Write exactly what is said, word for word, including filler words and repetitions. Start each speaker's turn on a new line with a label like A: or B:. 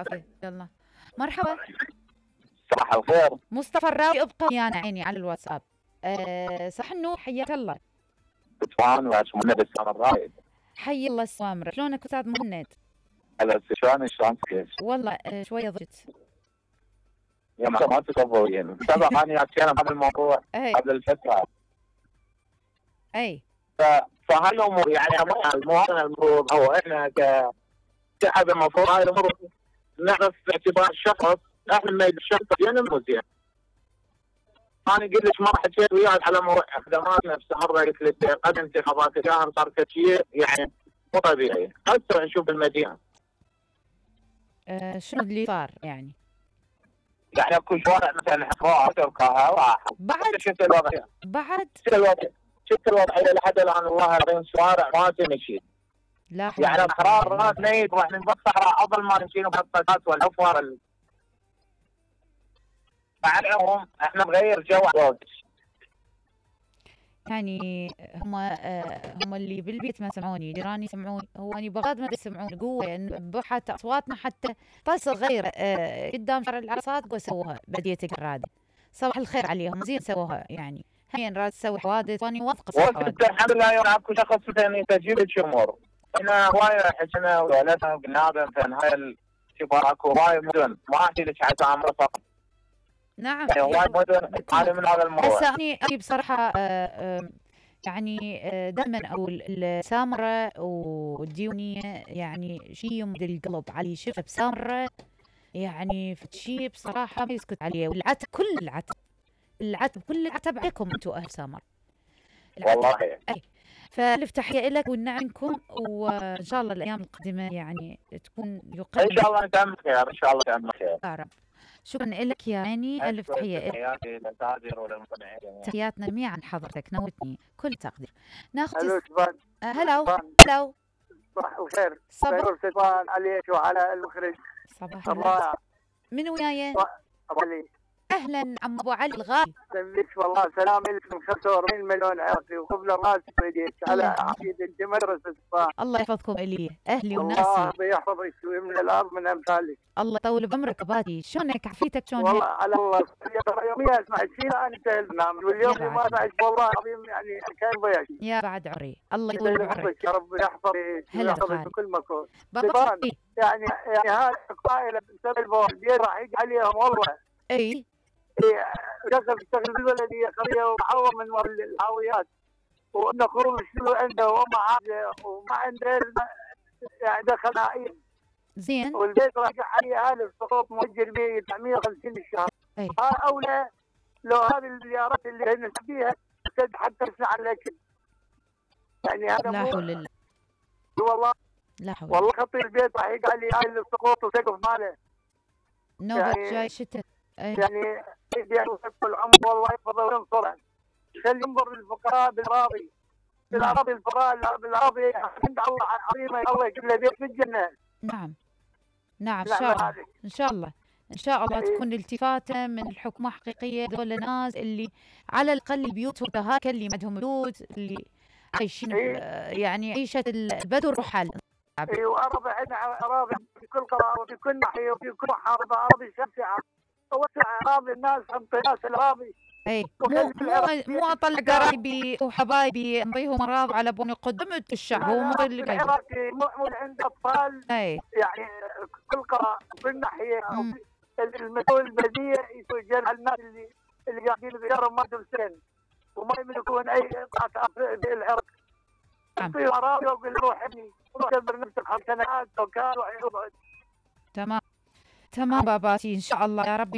A: العافيه. يلا مرحبا.
B: صباح الخير.
A: مصطفى الراوي ابقى ويانا عيني على الواتساب. أه صح النور، حياك الله.
B: سلطان ومهند السامراء.
A: حي الله السوامرة، شلونك استاذ مهند؟
B: هلا شلون شلون كيف؟
A: والله أه شويه ضجت.
B: يا ما ما تصورين سبق اني حكينا بهذا الموضوع قبل الفتره.
A: اي
B: ف... فهالامور يعني المواطن المفروض او احنا ك كشعب المفروض هاي الامور نعرف باعتبار الشخص احنا ما الشخص زين مو زين. انا قلت لك مره حكيت وياك على موضوع خدمات نفسها، مره قلت لك قد انتخابات الشهر صار شيء يعني مو طبيعي، هسه نشوف المدينه.
A: أه شنو اللي صار يعني؟
B: يعني اكو شوارع مثلا حفاظ وكهرباء
A: بعد
B: شفت الوضع
A: بعد
B: شفت الوضع شفت الوضعيه لحد الان والله العظيم شوارع ما تمشي.
A: لا
B: يعني احرار راس ميت راح نبقى صحراء افضل ما نمشي بهالطاقات والحفر ال... مع العموم احنا نغير جو.
A: يعني هم آه هم اللي بالبيت ما سمعوني، جيراني يسمعوني، هو اني بغاد ما يسمعوني قوه يعني بحت اصواتنا حتى طاسه صغيره آه قدام شارع العرصات قوه سووها بديه الراد. صباح الخير عليهم، زين سووها يعني. هين راد تسوي حوادث وانا واثقه
B: صراحه. الحمد لله يوم اكو شخص مثلا يستجيب الامور. احنا هوايه حكينا وولدنا قلنا مثلا هاي الكبار اكو هوايه مدن ما احكي لك حتى عمره فقط.
A: نعم
B: يعني هوايه مدن هذا من هذا الموضوع.
A: هسه اني بصراحه آه آه يعني دائما اقول السامره والديونيه يعني شيء يمد القلب علي. شفت بسامره يعني شيء بصراحه ما يسكت عليه، والعتب كل العتب العتب كل العتب عليكم انتم اهل سامر
B: والله.
A: اي فالف تحيه لك ونعنكم، وان شاء الله الايام القادمه يعني تكون يقدم
B: ان شاء الله نتعامل خير ان شاء الله نتعامل خير.
A: يا رب. شكرا لك يا عيني، الف تحيه لك.
B: تحياتي للتاجر وللمستمعين.
A: تحياتنا جميعا حضرتك، نوتني كل تقدير. ناخذ
C: الو شباب.
A: هلو هلو
C: صباح الخير.
A: صباح
C: سلطان عليك وعلى المخرج.
A: صباح الخير. من وياي؟
C: ابو علي.
A: اهلا عم ابو علي الغالي.
C: سلمك والله سلام لك من خمسة وأربعين مليون عراقي وقبل راسك بيديك على عقيد المدرسه.
A: الله يحفظكم الي اهلي وناسي.
C: الله يحفظك ويملى الارض من امثالك.
A: الله يطول بعمرك بادي. شلونك عافيتك شلونك؟
C: والله على الله يوميا اسمع شيء انا انتهي البرنامج واليوم ما اسمع والله العظيم يعني كان ضيعت.
A: يا بعد عمري الله يطول بعمرك
C: يا رب يحفظك ويحفظك بكل مكان.
A: بابا
C: يعني يعني هذه القائله بسبب البيت راح يجي عليهم والله.
A: اي
C: دخل يشتغل بالبلديه قريه ومعوض من الهاويات وانه خروج شنو عنده وما عنده وما عنده يعني دخل نائم
A: زين
C: والبيت راجع عليه هذا السقوط مؤجر به أربعمية وخمسين الشهر. ها اولى لو هذه الزيارات اللي هي فيها حتى تسمع الاكل يعني هذا
A: لا حول الله
C: والله
A: لا حول
C: والله خطي البيت راح يقع لي هاي السقوط وسقف ماله
A: نوبة يعني جاي شتاء
C: يعني يعني العمر والله يحفظه وينصره. خلي ينظر للفقراء بالاراضي بالاراضي الفقراء بالاراضي عند الله عظيمه الله يجيب له بيت في الجنه.
A: نعم نعم ان شاء الله ان شاء الله ان شاء الله تكون التفاته من الحكومه حقيقيه. ذول الناس اللي على الاقل بيوتهم هاك اللي ما عندهم بيوت اللي عايشين يعني عيشه البدو الرحل.
C: اي واراضي عندنا اراضي في كل قرار وفي كل ناحيه وفي كل محافظه اراضي شاسعه توسع اراضي الناس انطي ناس الاراضي.
A: اي مو مو مو اطلع قرايبي وحبايبي انطيهم اراضي على بني قدمت الشعب هو مو اللي قاعد
C: العراقي مو عند اطفال
A: اي
C: يعني كل قرار في الناحيه المسؤول البلديه يسجل على الناس اللي اللي قاعدين بيارهم ما عندهم سن وما يملكون اي قطعه في العراق. في اراضي ويقول روح ابني روح دبر نفسك خمس سنوات وكان روح يقعد.
A: تمام تمام باباتي ان شاء الله يا رب